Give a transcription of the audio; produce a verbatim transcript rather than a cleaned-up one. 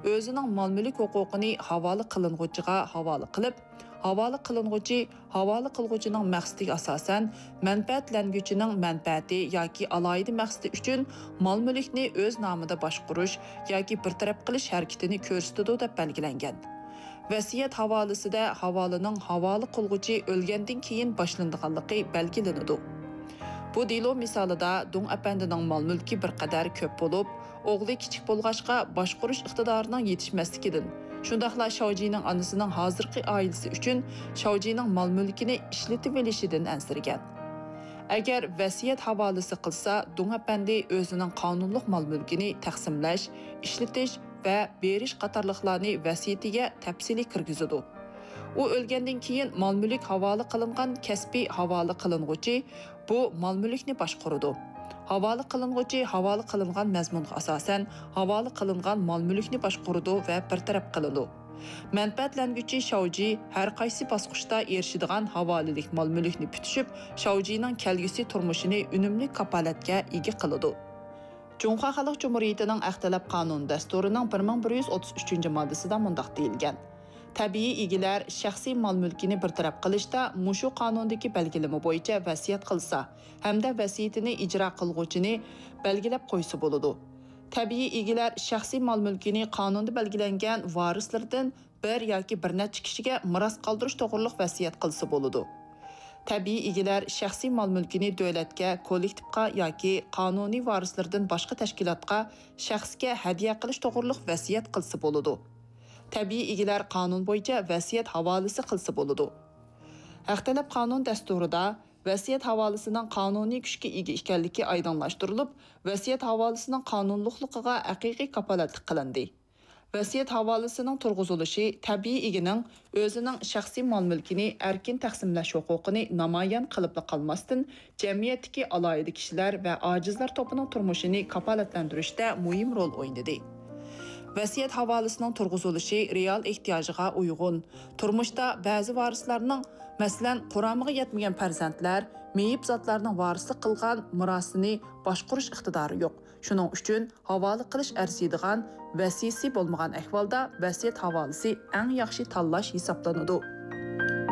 ئۆزىنىڭ مال-مۈلۈك ھوقۇقىنى ھاۋالە قىلىنغۇچىغا ھاۋالە قىلىپ، ھاۋالە قىلىنغۇچى ھاۋالە قىلغۇچىنىڭ مەقسىتىگە ئاساسەن مەنپەئەتلەنگۈچىنىڭ مەنپەئەتى ياكى ئالاھىدە مەقسىتى ئۈچۈن مال-مۈلۈكنى ئۆز نامىدا باشقۇرۇش ياكى بىر تەرەپ قىلىش ھەرىكىتىنى كۆرسىتىدۇ دەپ بەلگىلەنگەن. ۋەسىيەت ھاۋالىسىدە ھاۋالىنىڭ ھاۋالە قىلغۇچى ئۆلگەندىن كېيىن باشلىنىدىغانلىقى بەلگىلىنىدۇ. بۇ دېلو مىسالىدا دۇڭ ئەپەندىنىڭ مال-مۈلكى بىر قەدەر كۆپ بولۇپ، ئوغلى كىچىك بولغاچقا، باشقۇرۇش ئىقتىدارىنىڭ يېتىشمەسلىكىدىن، شۇنداقلا شاۋجىنىڭ ئانىسىنىڭ ھازىرقى ئائىلىسى ئۈچۈن شاۋجىنىڭ مال-مۈلكىنى ئىشلىتىۋېلىشىدىن ئەنسىرىگەن. ئەگەر ۋەسىيەت ھاۋالىسى قىلسا، دۇڭ ئەپەندى ئۆزىنىڭ قانۇنلۇق مال-مۈلكىنى تەقسىملەش، ئىشلىتىش ۋە بېرىش قاتارلىقلارنى ۋەسىيىتىگە تەپسىلىي كىرگۈزىدۇ. ئۇ ئۆلگەندىن كېيىن مال-مۈلۈك ھاۋالە قىلىنغان كەسپىي ھاۋالە قىلىنغۇچى بۇ مال-مۈلۈكنى باشقۇرىدۇ. ھاۋالە قىلىنغۇچى ھاۋالە قىلىنغان مەزمۇنغا ئاساسەن ھاۋالە قىلىنغان مال-مۈلۈكنى باشقۇرىدۇ ۋە بىر تەرەپ قىلىدۇ. مەنپەئەتلەنگۈچى شاۋجى ھەر قايسى باسقۇچتا ئېرىشىدىغان ھاۋالىلىك مال-مۈلۈكنى پۈتۈشۈپ، شاۋجىنىڭ كەلگۈسى تۇرمۇشىنى ئۈنۈملۈك كاپالەتكە ئىگە قىلىدۇ. جۇڭخۇا خەلق جۇمھۇرىيىتىنىڭ ئەختەلەپ قانۇن دەستۇرىنىڭ بىر مىڭ بىر يۈز ئوتتۇز ئۈچىنچى ماددىسىدا مۇنداق دېيىلگەن: تەبىئىي ئىگىلەر شەخسىي مال-مۈلكىنى بىر تەرەپ قىلىشتا مۇشۇ قانۇندىكى بەلگىلىمە بويىچە ۋەسىيەت قىلسا ھەمدە ۋەسىيىتىنى ئىجرا قىلغۇچىنى بەلگىلەپ قويسا بولىدۇ. تەبىئىي ئىگىلەر شەخسىي مال-مۈلكىنى قانۇندا بەلگىلەنگەن ۋارىسلىرىدىن بىر ياكى بىر نەچچە كىشىگە مىراس قالدۇرۇش توغرۇلۇق ۋەسىيەت قىلسا بولىدۇ. تەبىئىي ئىگىلەر شەخسىي مال-مۈلكىنى دۆلەتكە، كوللېكتىپقا ياكى قانۇنىي ۋارىسلىرىدىن باشقا تەشكىلاتقا، شەخسكە ھەدىيە قىلىش توغرۇلۇق ۋەسىيەت قىلسا بولىدۇ. تەبىئىي ئىگىلەر قانۇن بويىچە ۋەسىيەت ھاۋالىسى قىلسا بولىدۇ. ھەق تەلەپ قانۇن دەستۇرىدا ۋەسىيەت ھاۋالىسىنىڭ قانۇنىي كۈچكە ئىگە ئىكەنلىكى ئايدىڭلاشتۇرۇلۇپ، ۋەسىيەت ھاۋالىسىنىڭ قانۇنلۇقلۇقىغا ھەقىقىي كاپالەتلىك قىلىندى. ۋەسىيەت ھاۋالىسىنىڭ تۇرغۇزۇلۇشى تەبىئىي ئىگىنىڭ ئۆزىنىڭ شەخسىي مال-مۈلكىنى ئەركىن تەقسىملەش ھوقۇقىنى نامايان قىلىپلا قالماستىن، جەمئىيەتتىكى ئالاھىدە كىشىلەر ۋە ئاجىزلار توپىنىڭ تۇرمۇشىنى كاپالەتلەندۈرۈشتە مۇھىم رول ئوينىدى. ۋەسىيەت ھاۋالىسىنىڭ تۇرغۇزۇلۇشى رېئال ئېھتىياجىغا ئۇيغۇن. تۇرمۇشتا بەزى ۋارىسلارنىڭ، مەسىلەن، قۇرامىغا يەتمىگەن پەرزەنتلەر، مېيىپ زاتلارنىڭ ۋارىسلىق قىلغان مىراسىنى باشقۇرۇش ئىقتىدارى يوق. شۇنىڭ ئۈچۈن ھاۋالە قىلىش ئەرزىيدىغان ۋەسىيىسى بولمىغان ئەھۋالدا ۋەسىيەت ھاۋالىسى ئەڭ ياخشى تاللاش ھېسابلىنىدۇ.